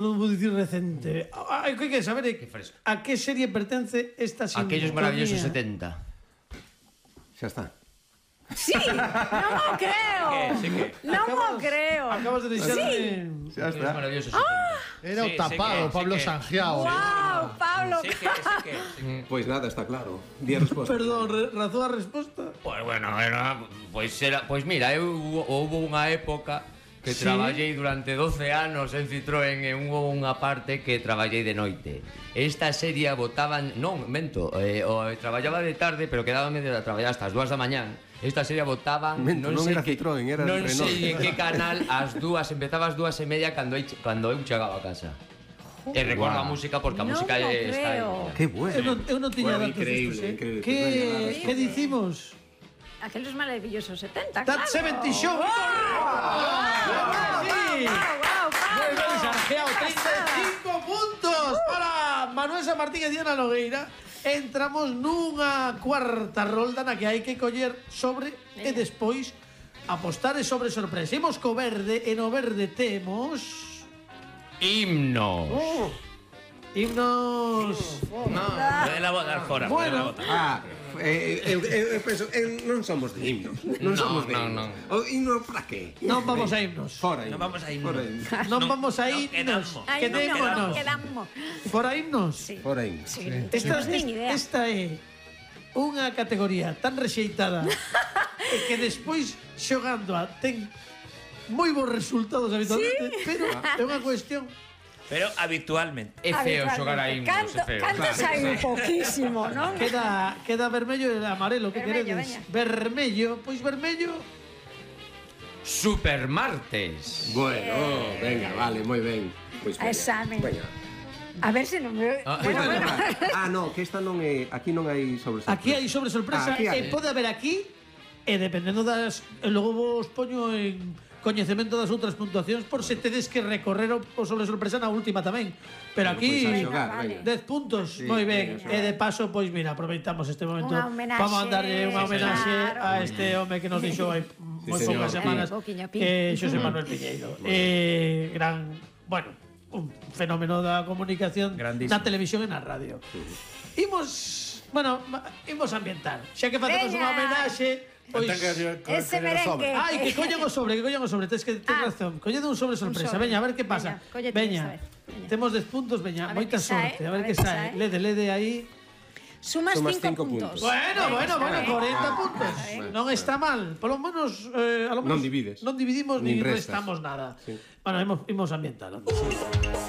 Non vou dicir recente. Hai que saber a que serie pertence esta sinfonía. Aquellos maravillosos 70. Xa está. Sí, non o creo. Non o creo. Acabas de deixarme... Xa Aquellos está. maravillosos 70. Era o tapado, Pablo Sangiao. Wow, Pablo. Pois nada, está claro. Di a resposta. Perdón, razón a resposta? Pois bueno, pois mira, houve unha época que Sí. traballei durante 12 anos en Citroën e hubo unha parte que traballei de noite. Esta serie botaban, non, mento, traballaba de tarde, pero quedábame de traballar hasta as 2 da mañán. Esta serie botaban, Mento, non sei era Citroën, era non Renault. sei en que canal, empezaba ás 2:30 cando eu chegaba a casa. E recordo a música porque a Non música o está aí. creo. Que bueno. Eu non tiña Bueno, datos increíble, destos, increíble. Que dicimos? Aqueles maravillosos 70, That claro. 70 Show! Sí! Moi ben, Sangiao, 35 puntos para Manuel San Martín e Diana Nogueira. Entramos nunha cuarta rolda na que hai que coller sobre e despois apostar sobre sorpresa. Imos co verde e no verde temos... Himnos. Himnos... No, Podela botar fora, Bueno. podela botar. Eu penso, non somos de himnos. Non somos de himnos. O himno para qué? Non vamos a himnos. Fora himnos. Non vamos a himnos. Fora himnos. Non vamos a himnos. Ai, Quedémonos. quedamos. Fora himnos. Sí. Fora himnos. Sí. Esta, Esta nin idea. esta é unha categoría tan rexeitada e que despois xogando a ten moi bons resultados habitualmente, pero é unha cuestión. Pero habitualmente. É feo xogar a himnos, é feo. Canto sai poquísimo, non? Queda vermello e amarelo, que Vermello, queredes? veña. Vermello, pois vermello. Supermartes. Bueno, venga, vale, moi ben. Pois A exame. Veña. A ver se non me... Pois Bueno, veña, bueno. va. No, que esta non é, aquí non hai sobre sorpresa. Aquí hai sobre sorpresa Aquí hai. e pode haber aquí e dependendo das e logo vos poño en coñecemento das outras puntuacións por se tedes que recorrer o sobre sorpresa na última tamén. Pero aquí Pois a xogar, vale. veña. 10 puntos, Sí, moi ben. venga, E de paso, pois mira, aproveitamos este momento. Unha homenaxe. Vamos a darlle unha homenaxe Claro. a este home que nos deixou hai moi señor. poucas semanas, Pouquiño, pi. Xosé Manuel Piñeiro. Gran, bueno, un fenómeno da comunicación Grandísimo. na televisión e na radio. Imos, bueno, imos ambientar. Xa que facemos Veña. unha homenaxe, pois Ese merengue. Ai, que collan o sobre, tes razón. Collede un sobre sorpresa. sobre. Veña, a ver que pasa. Veña, cóllete Veña. esta vez. Veña. Temos 10 puntos, veña, A ver moita que sae, sorte. A ver que sae. Lede aí. Sumas Sumas 5 cinco puntos. puntos. Bueno, 40 puntos. Bueno, Non está mal. Por lo menos a lo menos Non divides. non dividimos Nin ni restas. restamos nada. Sí. Bueno, imos ambientar. Sí.